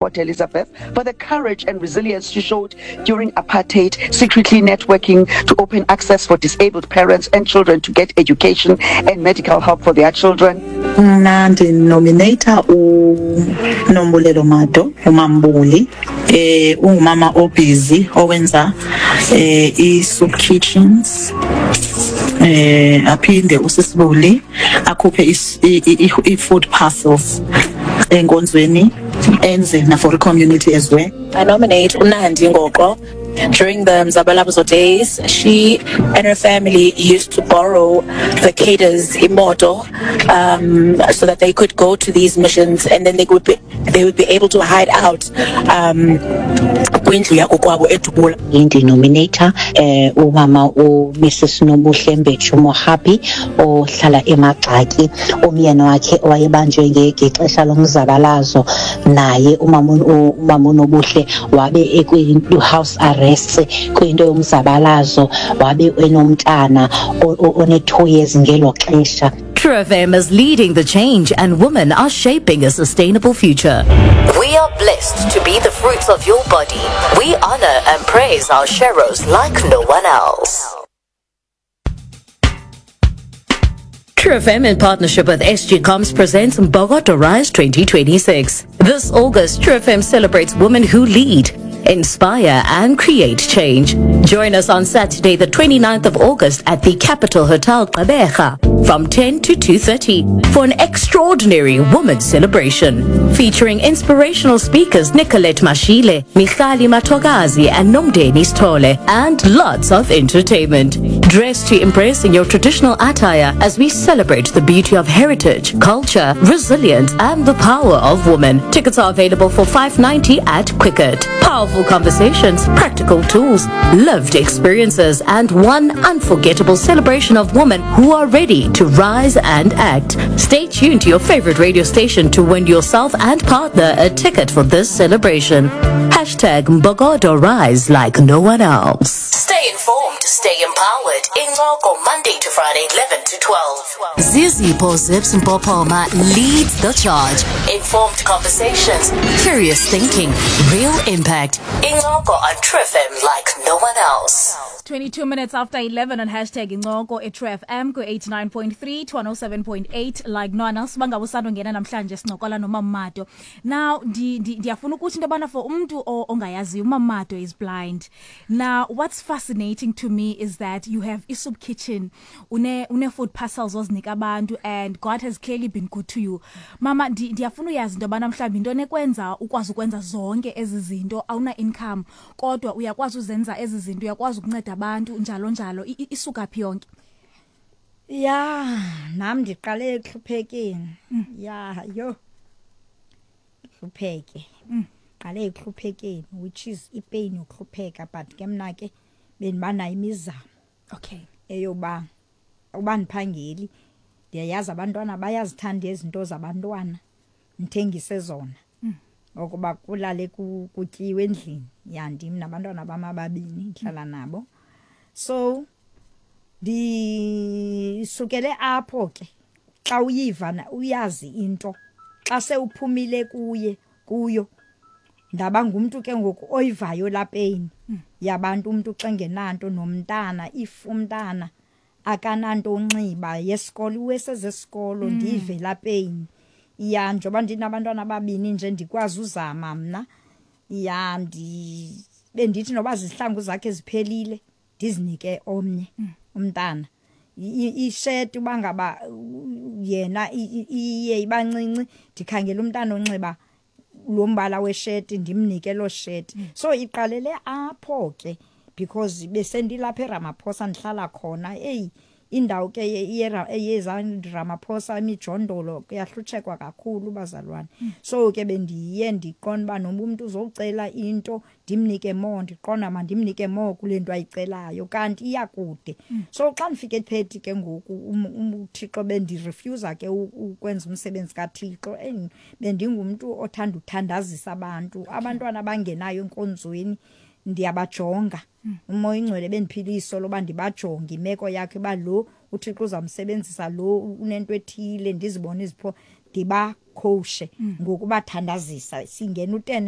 Port Elizabeth for the courage and resilience she showed during apartheid, secretly networking to open access for disabled parents and children to get education and medical help for their children. Mna ndinomineyitha uNombulelo Mado, uMaMbuli. Ungumama obhizi owenza ii-soup kitchens, aphinde uSisibuli akhuphe ii-food parcels enkonzweni, enze na for community as well. I nominate uNandi Ngoqo. During the Mzabalazo days, she and her family used to borrow the cadres imoto so that they could go to these missions, and then they would be able to hide out kwindlu yakokwabo eDubula. Ndinomineyitha umama uMrs Nobuhle Mbeju Mohapi ohlala eMagxaki, umyeni wakhe owayebanjwe ngexesha lomzabalazo. Naye umama uNobuhle wabe ekwi-house arrest kwinto yomzabalazo, wabe enomntana one-2 years ngelo xesha. True FM is leading the change and women are shaping a sustainable future. We are blessed to be the fruits of your body. We honor and praise our sheroes like no one else. True FM in partnership with SG Comms presents Mbokodo Rise 2026. This August, True FM celebrates women who lead, inspire and create change. Join us on Saturday, the 29th of August at the Capital Hotel Gqeberha from 10 to 2:30 for an extraordinary women's celebration featuring inspirational speakers Nicolette Mashile, Michali Matogazi and Nomdeni Stole, and lots of entertainment. Dress to impress in your traditional attire as we celebrate the beauty of heritage, culture, resilience and the power of women. Tickets are available for 590 at Quicket. Powerful conversations, practical tools, lived experiences and one unforgettable celebration of women who are ready to rise and act. Stay tuned to your favorite radio station to win yourself and partner a ticket for this celebration. #MbokodoRise like no one else. Stay informed, stay empowered. Incoko, Monday to Friday, 11 to 12. Zizipho Zips Mpopoma leads the charge. Informed conversations, curious thinking, real impact. Incoko on True FM like no one else. 22 minutes after 11 on #Incoko eTrue FM ku-89.3 to 107.8 like no one else. Bangabe usandongena namhlanje, sincokola noMamado. Now ndiyafuna ukuthi into yobana for umntu ongayaziyo, uMamado is blind. Now what's fascinating to me is that you have i-soup kitchen, une food parcels ozinika abantu, and God has clearly been good to you. Mama, ndiyafuna uyazi into yobana mhlawumbi into nekwenza ukwazi ukwenza zonke ezi zinto, awuna income kodwa uyakwazi uzenza ezi zinto, uyakwazi ukunceda abantu njalo njalo, isuka phi yonke? Ya, nam ndiqale ekuhluphekeni. Ya, yho, hlupheke, qale ekuhluphekeni, which is ipain yokuhlupheka, but ke mna ke bendibanayo imizamo eyoba uba ndiphangeli, ndiyayazi abantwana bayazithanda izinto zabantwana, ndithengise zona ukuba kulale kutyiwe endlini. Ya, ndim nabantwana bam ababini ndihlala nabo, so ndisukele apho ke. Xa uyiva uyazi into xa sewuphumile kuye kuyo, ndaba ngumntu ke ngoku oyivayo laa pain yabantu, umntu xa engenanto, nomntana, if umntana akananto onxiba yesikolo, iwesezesikolo, ndive laa pain. Ya, njengoba ndinabantwana ababini nje, ndikwazi uzama mna. Ya, bendithi noba zizihlangu zakhe ziphelile, ndizinike omnye umntana. Isheti uba ngaba yena iye ibancinci, ndikhangela umntana onxiba lo mbala wesheti, ndimnike loo sheti. So iqalele apho ke, because besendilapha eRamaphosa ndihlala khona. Eyi, indawo ke yeza Ramaphosa, imijondolo, kuyahlutshekwa kakhulu, bazalwane. So ke bendiye ndiqonda uba noba umntu uzocela into, ndimnike more, ndiqonda mandimnike more kule nto ayicelayo, kanti iyakude. So xa ndifika ePethi ke ngoku, uThixo bendirefusa ke ukwenza umsebenzi kaThixo. Bendingumntu othanda uthandazisa abantu, abantwana abangenayo enkonzweni ndiyabajonga. Umoya ingcwele bendiphila iso loba ndibajonge imeko yakhe, uba lo uThixo uzamsebenzisa, lo unento ethile, ndizibone izipho. Ndibakhowushe ngokubathandazisa, singena u-10.